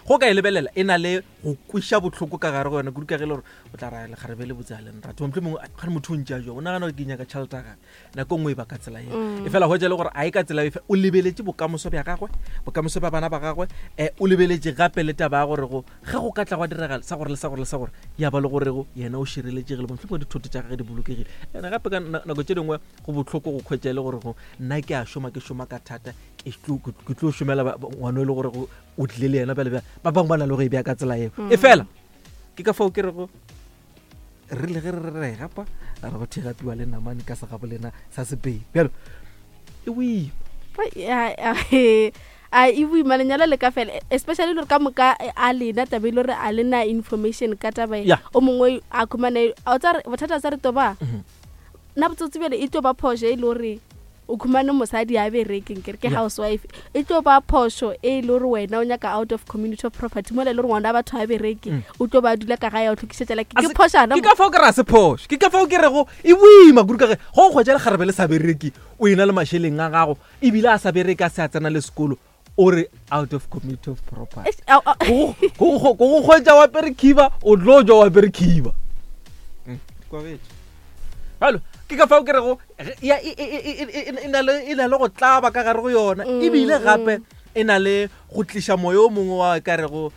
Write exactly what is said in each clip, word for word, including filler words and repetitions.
Go ka e lebelela e na le go kweša bohloko ka gare go yona kudu ka ge e le gore o tla ra lekgarebe le botse a le nrate mohlomongwe mongwe gane motho o ntše a jwa o nagana gore ke nyaka tšhelete ya gage nako nngwe e ba ka tsela eo Mm. e fela hwetša e le gore a e ka tsela efe o lebeletše bokamoso bja gagwe bokamoso bja bana ba gagwe um o lebeletše gape le taba ya gore go ge go ka tla gwa diragala sa gore le sa gore le sa gore ya ba le gorego yena o šireletšegile mohlomongwe dithoto tša gage di bolokegile ene gape ka na- nako tše dingwe go bohloko go kgwetša e le gore go nna ke a šoma ke šoma ka thata ke tlo ke tlo šomela ba- ba- ngwana e le gore go- o tlile le yena bjale bjale ba bangwe ba na le go e bea ka tsela eo e fela ke ka fao ke rego re le ge re re re e gapa re go thegapiwa le namane ka segabo lena sa sepedi bjalo e boima a e boima lenyalo le ka fela especially le gore ka moka a lena taba e le gore a lena information ka taba e Yeah. o mongwe a khumane a o tsare bothata sa re to ba Mhm. nna botsotsi bjale e tlo ba phošo e le gore o khumane mosadi a berekeng kere ke Yeah. housewife e tlo ba phošo e le gore wena o nyaka out of community of property mola e le gore ngwana wa batho a bereke Mm. o tlo ba dula ka gae a o tlhokišetšela A ke se- phošana ke ka fao ke re a se phošo ke ka fao ke rego e boima kudu ka ge go o kgwetša lekgarebe le sa bereke o ena le mašeleng a gago ebile a sa bereke a se a tsena le sekolo o re out of community of property Eish, ao, ao. ko go go kgwetša wa apere khiba o tlo jwa wa apere khiba jalo ke ka fao ke rego ge- ya- e- e- e- e- e- e na le- e na le go tlaba ka gare go yona Mm, ebile mm. gape e na le go tliša moya o mongwe wa ka rego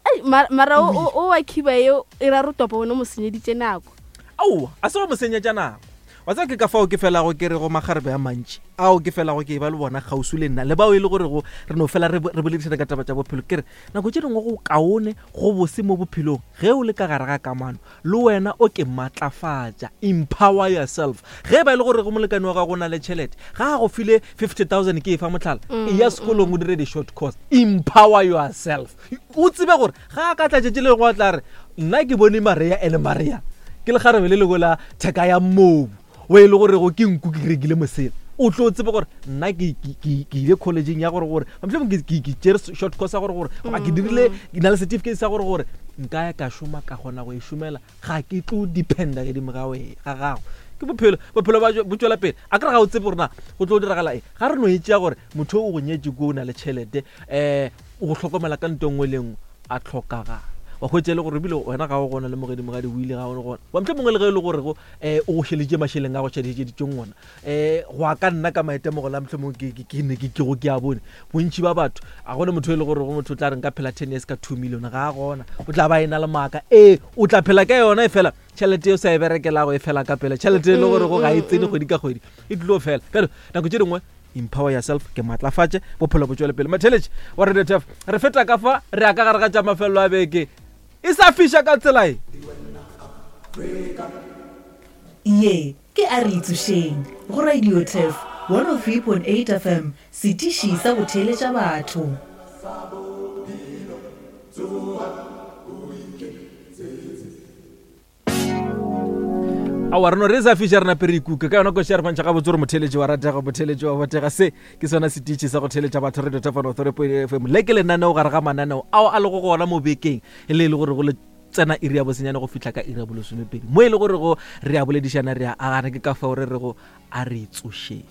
Ai, mara mara o- o o wa khiba eo e ra re topa wena o mo senyeditše nako aowa a se go mo senyetša nako wa tseba ke ka fao ke felago ke re go magarebe a mantši ao ke felago ke e ba le bona kgauswi le nna le bao e le gorego re no fela re bo- re boledišana ka taba tša bophelo ke re nako tše dingwe go kaone go bose mo bophelong ge o le ka gare ga kamano le wena o ke maatlafatša empower yourself ge e ba e le gore go molekane wa gago o na le tšhelete ga a go file fifty thousand ke e fa motlhala e ya sekolong o dire di-short course empower yourself o tsebe gore ga a ka tla tšatši le lengwe a tla re nna ke bone maria ene maria ke lekgarebe le lengwe la theka ya mobu o e le gorego ke nku ke rekile mosela o tlo tsebe gore nna ke ke- ke- ke ile collegeng ya gore gore mohlomongwe ke ke- ke tšere short course ya gore gore goba ke dirile ke na le certificate sa gore gore nka ya ka šoma ka kgona go e šomela ga ke tlo dependa gedimo ga we- ga gago ke bophelo bophelo ba bo tswela pele a kere ga o tsebe gore na go tlo diragala eng ga re no e tšea gore motho o go nyetse ko o na le tšhelete um o go hlokomela ka nto nngwe le nngwe a tlhokagala wa hwetša e le gore ebile wena ga o gona le mogedi mogadi o ile ga o gona wa motlho mongwe le ge e le gore go um o go šeleditše mašeleng a go šeleditšeng ona um go a ka nna ka maitemogelo a motlho mongwe ke- ke- ke ne ke ke go ke a bone bontši ba batho a gone motho e le gore go motho o tla reng ka phela ten years ka two million ga a gona o tla ba e na le maaka ee o tla phela ka yona e fela tšhelete e o sa e berekelago e fela ka pele tšhelete e le gore go ga e tsene kgwedi ka kgwedi e tlilo fela bjalo nako tše dingwe empower yourself ke maatlafatše bophelo bo tswele pele matheletše wa radio tf re feta ka fa re ya ka gare ga tša mafelelo a beke e sa fiša ka tsela e Ye ke a re itsošeng go Radio Turf one oh three point eight F M setiši sa go theeletša batho. Aowa re no re e sa fiša re nape re ikuka ka yona koši ya re bontšha gabotse gore motheletši wa ratega motheletši wa botega se ke sona setiši sa go theletša batho radio tf one oh three point eight F M le ke lenaneo gare ga mananeo ao a lego gona mo bekeng e le e le gore go le tsena iri ya bosenyane go fihla ka iri ya bolesomepedi mo e le gore go re a boledišana re a agana ke ka fao re rego a re tsošeng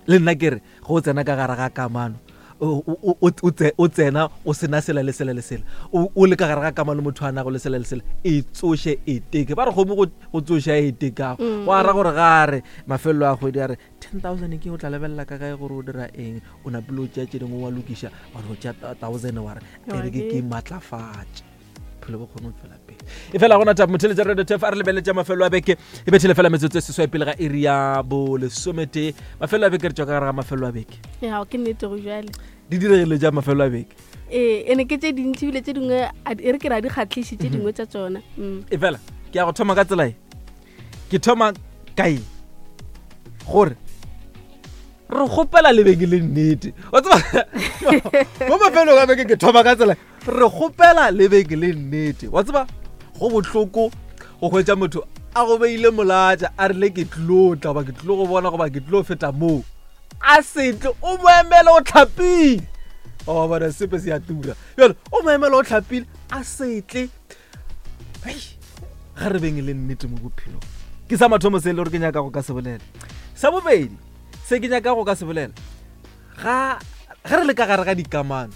le nna ke re go o tsena ka gare ga kamano o- o- o o tse- o tsena o sena sela le sela le sela o o le ka gare ga kamano motho a nago le sela le sela e tsoše e teke ba re kgomo go go tsoša e tekago go ara gore ga a re mafelelo a kgwedi a re ten thousand ke o tla lebelela ka kae gore o dira eng o napile o tšea tše dingwe wa lokiša wa no tšea thousand wa re e re ke ke maatlafatše bophelo bo kgone go tswela pele e fela gona taba motheletša radio tf a re lebeletša mafelo a beke e bethele fela metsotso e seswai pele ga iri ya bolesometee mafelo a beke re tšwa ka gare ga mafelo a beke ya ke nnete go jale di diregile ja mafelo a beke ee ene ke tše dintši ebile tše dingwe a di- e re ke ra di kgatlhiše tše dingwe tša tsona Mm. e fela ke ya go thoma ka tsela e ke thoma kae gore re kgopela lebeke le nnete wa tseba mo mafelong a beke ke thoma ka tsela re kgopela lebeke le nnete wa tseba go bohloko go hwetša motho a go beile molatša a rile ke tlilo tla goba ke tlilo go bona goba ke tlilo feta moo a setle o mo emele o tlhapile wa bona sepe se a tura jalo o mo emele o tlhapile a setle hei ga re beng le nnete mo bophelong ke sa mathomo se e le gore ke nyaka go ka se bolela sa bobedi se ke nyaka go ka se bolela ga ge re le ka gare ga dikamano